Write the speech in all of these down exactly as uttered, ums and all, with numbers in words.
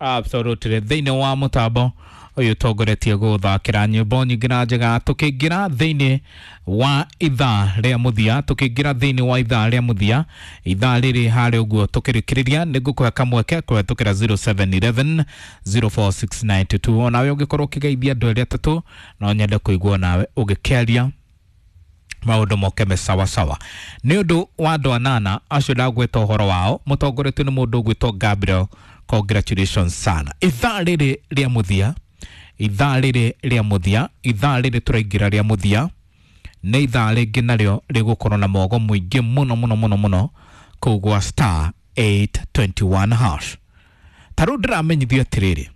Absolutely. Thĩinĩ wa mũtambo ũyũ ũtongoretie gũthakĩra nyĩmbo nyingĩ na njega, tũkĩingĩra thĩinĩ wa ithaa rĩa mũthia, tũkĩingĩra thĩinĩ wa ithaa rĩa mũthia, ithaa rĩrĩ harĩ ũguo tũkĩrĩkĩrĩria, nĩ ngũkũhe kamweke kũhetũkĩra zero seven eleven zero four six nine two two. Onawe ũngĩkorwo ũkĩgeithia andũ erĩ atatũ, no nyende kũigua nawe ũgĩkĩaria maũndũ moke me sawa sawa. Nĩ ũndũ wa andũ anana acio ndagweta ũhoro wao, mũtongoretio nĩ mũndũ ũgwĩtwo Gabriel. Congratulations sana. Ithaa rĩrĩ rĩa mũthia, ithaa rĩrĩ rĩa mũthia, ithaa rĩrĩ tũraingĩra rĩa mũthia, nĩ ithaa rĩngĩ narĩo rĩgũkorwo na mogo mũingĩ mũno mũno mũno mũno kũu gwa star eight twenty one hash. Ta rĩu ndĩramenyithio atĩrĩrĩ,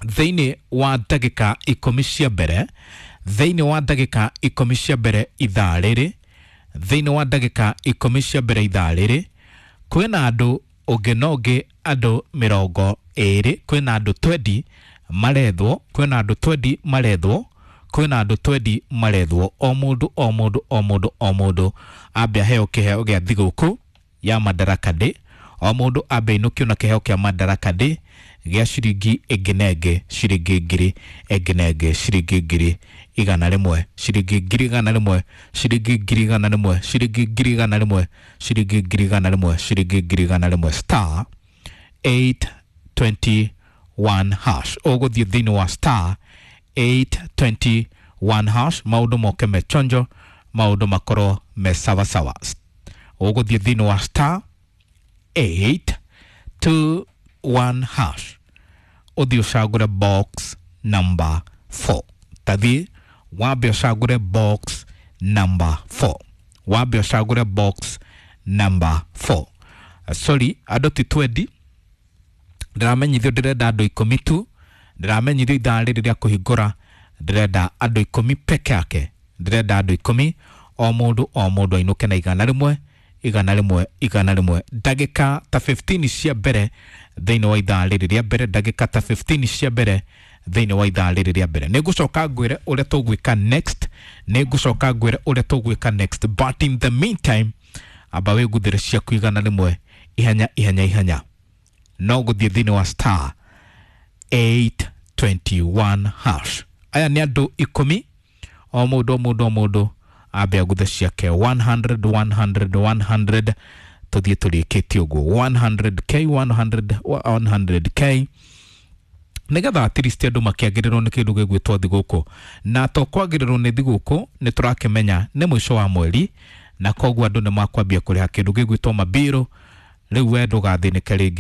thĩinĩ wa ndagĩka ikũmi cia mbere, thĩinĩ wa ndagĩka ikũmi cia mbere ithaa rĩrĩ, thĩinĩ wa ndagĩka ikũmi cia mbere ithaa rĩrĩ, kwĩna andũ ũngĩ na ũngĩ andũ mĩrongo ĩrĩ, kwĩna andũ twendi marethwo, kwĩna andũ twendi marethwo, kwĩna andũ twendi marethwo, o mũndũ o mũndũ o mũndũ o mũndũ ambe aheo kĩheo gĩa thigũkũ ya Madaraka Day, o mũndũ ambe ainũkio na kĩheo kĩa Madaraka Day gĩa ciringi ĩngĩ na ĩngĩ, ciringi ngiri ĩngĩ na ĩngĩ, ciringi ngiri igana rĩmwe, ciringi ngiri igana rĩmwe, ciringi ngiri igana rĩmwe, ciringi ngiri igana rĩmwe, ciringi ngiri igana rĩmwe, ciringi ngiri igana rĩmwe, star eight twenty one hash. Ũgũthiĩ thĩinĩ wa star eight twenty one hash, maũndũ moke me chonjo, maũndũ makorwo me sawasawa. Ũgũthiĩ thĩinĩ wa star eight two one hash, ũthiĩ ũcagũre box number four. Tathiĩ wambe ũcagũre box number four, wambe ũcagũre box number four. Sorry, andũ ti twendi, ndĩramenyithio ndĩrenda andũ ikũmi tu, ndĩramenyithio ithaa rĩrĩ rĩa kũhingũra ndĩrenda andũ ikũmi peke yake, ndĩrenda andũ ikũmi, o mũndũ o mũndũ ainũke na igana rĩmwe, igana rĩmwe, igana rĩmwe. Ndagĩka ta fifteen cia mbere thĩinĩ wa ithaa rĩrĩ rĩa mbere, ndagĩka ta fifteen cia mbere thĩinĩ wa ithaa rĩrĩ rĩa mbere. Nĩ ngũcoka ngwĩre ũrĩa tũgwĩka next, nĩ ngũcoka ngwĩre ũrĩa tũgwĩka next, but in the meantime amba wĩguthĩre ciaku igana rĩmwe ihenya ihenya ihenya, no gũthiĩ thĩinĩ wa star eight twenty one hash. Aya nĩ andũ ikũmi, o mũndũ o mũndũ o mũndũ ambe aguthe ciake one hundred, one hundred, one hundred, tũthiĩ tũrĩkĩtie ũguo one hundred K, one hundred, one hundred K, nĩgetha at least andũ makĩagĩrĩrwo nĩ kĩndũ gĩgwĩtwo thigũkũ. Na to kwagĩrĩrwo nĩ thigũkũ, nĩ tũrakĩmenya nĩ mũico wa mweri, na koguo andũ nĩ makwambia kũrĩha kĩndũ gĩgwĩtwo mabiro. Rĩu we ndũgathĩnĩke rĩngĩ.